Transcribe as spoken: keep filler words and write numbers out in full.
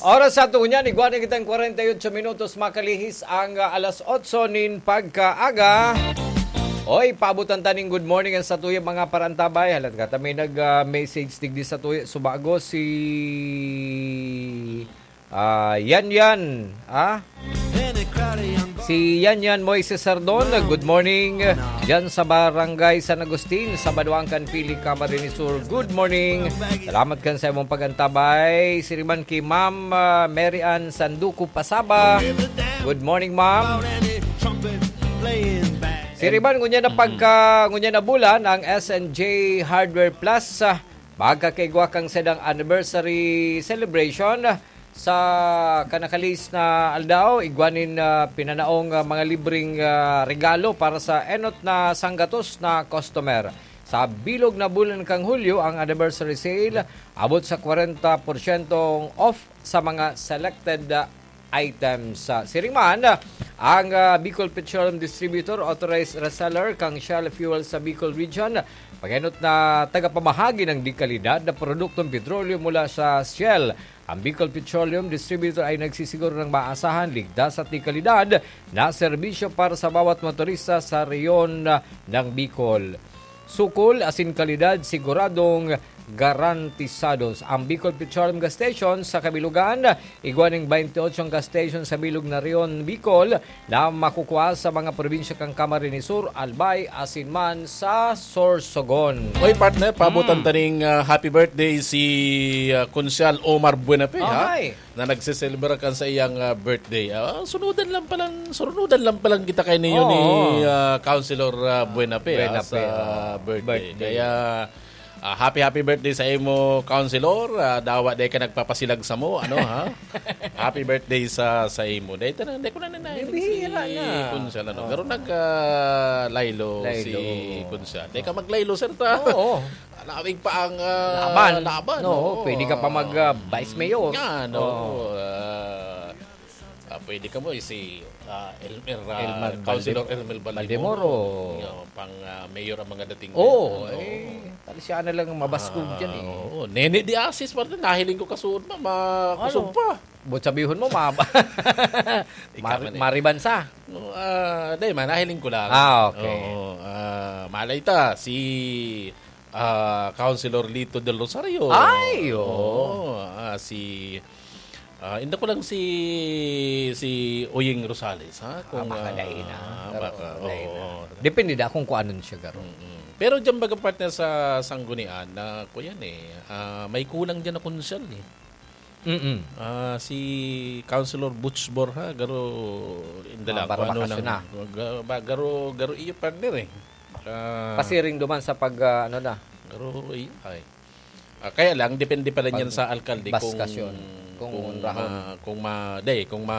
Oras sa ato ngunyan, igwa na kitang kwarenta y ocho minutos, makalihis ang, ah, alas otso nin pagkaaga. Oy, paabutan ta ning good morning ang satuya mga parantabay. Halat ka, may nag, ah, message digdi satuya, subago si, ah, Yan Yan, ah? Si Yan Yan Moises Sardon, good morning. Diyan sa Barangay San Agustin, sa Baduang kan Pili, Camarines Sur, good morning. Salamat kan sa imong pag-antabay. Siriman ki Ma'am, ah, Mary Ann Sanduco Pasaba. Good morning, Ma'am. Siriman, ngunyan na pagka, ngunyan na bulan, ang S and J Hardware Plus, ah, magkakaigwa kan saindang anniversary celebration. Sa kanakalis na aldaw, igwa nin, ah, pinanaong, ah, mga libreng, ah, regalo para sa enot na sanggatos na customer. Sa bilog na bulan kang Hulyo, ang anniversary sale abot sa kwarenta porsyentong off sa mga selected, ah, items. Sa siring man, ang, ah, Bicol Petroleum Distributor, authorized reseller kang Shell Fuel sa Bicol Region, pag-enot na tagapamahagi ng dekalidad na produktong petrolyo mula sa Shell. Ang Bicol Petroleum Distributor ay nagsisiguro ng maasahan, ligtas at dekalidad na serbisyo para sa bawat motorista sa rehiyon ng Bicol. Sukol asin kalidad siguradong garantisados. Ang Bicol Petroleum Gas Station sa Kabilugan, igwa ning twenty-eight gas station sa bilog na rehiyon Bicol na makukuha sa mga probinsya kan Camarines Sur, Albay, asin man sa Sorsogon. Oy, partner, paabutan Mm. ta ning, ah, happy birthday si, ah, Konsehal Omar Buenafe, ha? Okay. Na nagseselebra kan sa iyang, ah, birthday. Ah, sunudan lang palang, sunudan lang palang kita kay niyo Oo. ni, ah, Councilor, ah, Buenafe, ah, Buenafe, sa ah, birthday. birthday. Kaya, ah, happy, happy birthday sa imo, Councilor. Ah, dawa dai ka nagpapasilag samo, ano, ha? Happy birthday sa, sa imo. Dai ta na, dai ko na nanahiling Bibihira si na. Konsehal, ano. Oo. Pero nag, ah, laylo Laylo. si Konsehal. Dai ka maglaylo, sir, ta. Oo. Lamig pa ang, ah, Laban. laban, No, oo. pwede ka pa mag, ah, vice mayor. Yan, Oo. oo. Ah, ah, pwede ka mo, eh, si, ah, Elmer, ah, Elmer Councilor Baldem-, Elmer Baldemoro. Baldemoro. Yan, pang, ah, mayor ang mga dating Oo, ngayon, eh, oo. talisyan na lang ang mabaskog Ah, dyan, eh. oo. Nene de Asis, partner, nahiling ko kasuod, ma-, makusog Ano? pa. Buot sabihon mo, ma-, Ikaw Mar-, man, eh. Maribansa. No, ah, dai man, nahiling ko lang. Ah, okay. Oo, ah, malay ta, si ah, Councilor Lito Del Rosario. Ay, oo. Oo, ah, si, ah, inda ko lang si, si Oying Rosales, ha? Ah, Kung, baka ah, dai na. Pero baka, dai na. oo. Depende na kung kuanon siya, garo. Mm-mm. Pero diyan baga partner sa Sanggunian na, kuyan eh, ah, may kulang diyan na konsehal eh. Mm-mm. Ah, si Councilor Butch Borja, garo, inda Ah, lang, para kung ano bakasyon nang, na. ga-, ba-, garo, garo iyo partner eh. Ah. Pasiring duman sa pag, ah, ano na. Pero, eh, ay. Ah, kaya lang, depende pa rin yan Pag sa alkalde kung, baskasyon, kung kung unrahon. ma-, kung ma-, day, kung ma-,